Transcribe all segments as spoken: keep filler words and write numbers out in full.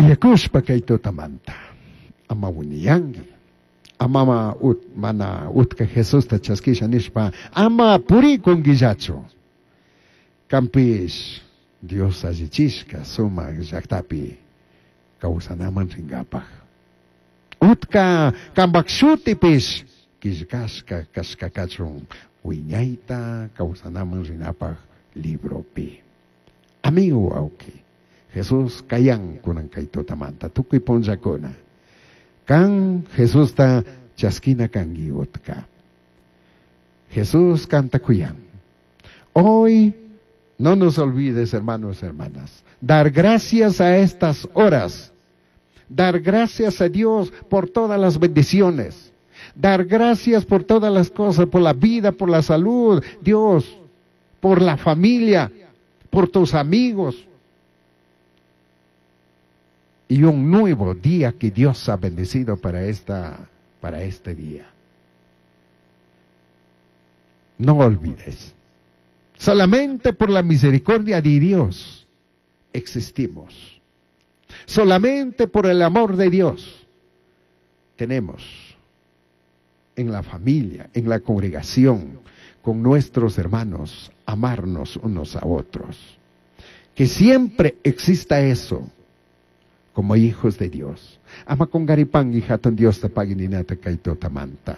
Uyakushpa kay tutamanta. Ama winiyanki. Ama ut, mana utka Jesusta chaskisha nishpa ama purikunkillachu. Kanpish Dios allichishka sumak llaktapi kawsanaman rinkapaj. Utka kanpak shutipish killkashka kashka kachun wiñayta kawsanaman rinapaj libropi. Amigo wawki, Jesús kayan kunan kay tutamanta tukuy punllakuna. Kan Jesusta chaskina kanki utka. Jesús kanta kuyan. Hoy no nos olvides, hermanos, hermanas, dar gracias a estas horas, dar gracias a Dios por todas las bendiciones, dar gracias por todas las cosas, por la vida, por la salud, Dios, por la familia, por tus amigos. Y un nuevo día que Dios ha bendecido para, esta, para este día. No olvides. Solamente por la misericordia de Dios existimos. Solamente por el amor de Dios tenemos en la familia, en la congregación, con nuestros hermanos, amarnos unos a otros. Que siempre exista eso como hijos de Dios. Ama cungaripanki hatun Diosta pagui ninata kay tutamanta.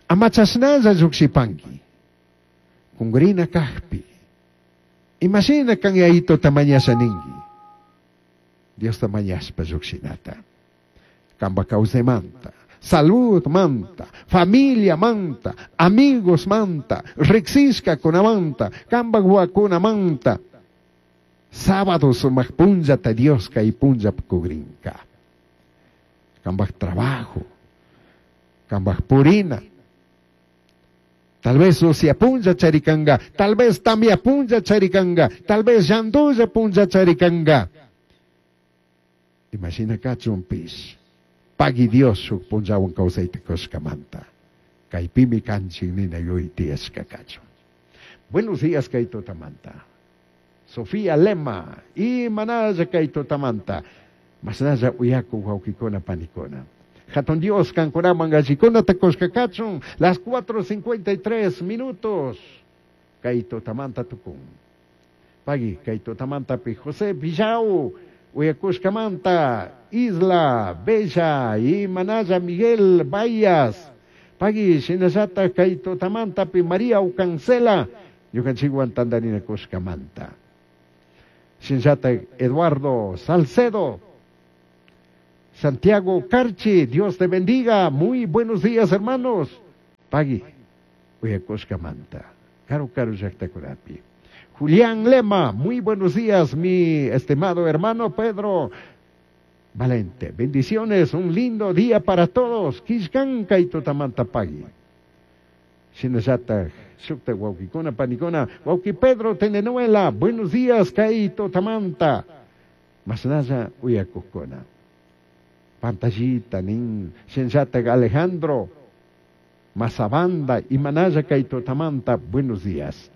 Ama chashnalla llukshipanki. Kungurina kajpi. Imashina kan Yayituta mañasha ninki. Diosta mañashpa llukshinata. Kamba kawsaymanta, salud manta, familia manta, amigos manta, riksishkakunamanta, kamba manta. Sábado sumak punllata Dios kay punlla kugrinka. Kambaj trabajo, kambaj purina. Tal vez usya punlla charikanga, tal vez tamia punlla charikanga, tal vez llandulla punlla charikanga. Imagina kachunpish. Pagui Dios shuk punllawan kawsayta kushkamanta. Kaypimi kanchik nina yuyay tiyashka kachun. Buenos días kay tutamanta. Sofía Lema y manalla kay tutamanta. Masnalla uyaku wawkikuna panikuna. Hatun Dios kankunaman allikunata kushka kachun. Las cuatro cincuenta y tres minutos. Kay tutamanta tukun. Pagui kay tutamanta pi José Villau. Uyakushkamanta, Isla Bella y Manaya Miguel Bayas. Pagui shinallata kay tutamanta pi María Ucancela. Ñukanchikwan tandarina kushkamanta. Shinallata Eduardo Salcedo. Santiago Carchi, Dios te bendiga. Muy buenos días, hermanos. Pagui, uyakushkamanta. Karu karu llaktakunapi. Julián Lema, muy buenos días, mi estimado hermano Pedro Valente. Bendiciones, un lindo día para todos. Kishkanka y tutamanta pagui. Shinallata, shukta wawkikuna, panikuna, wawki Pedro Tenenuela, buenos días, kay tutamanta. Masnalla uyakukuna. Pantallita, nin, shinallata Alejandro, Mazabanda y Manaya kay tutamanta, buenos días.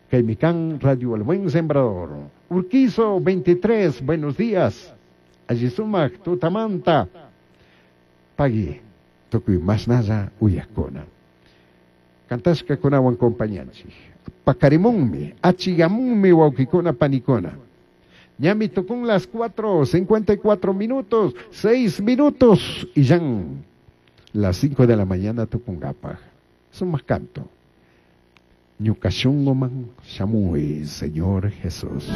Caimicán, Radio El Buen Sembrador. Urquizo veintitrés, buenos días. Allisumac, tutamanta. Pagui, tukuy masnalla uyakuna. Kantashka kunawan compañanchik. Pacarimunmi, achigamunmi wawkikuna panikuna. Ñami tukun las cuatro, cincuenta y cuatro minutos, seis minutos y ya las cinco de la mañana tukungapaj. Sumaq canto. Ñuka shunguman shamuy, Señor Jesús.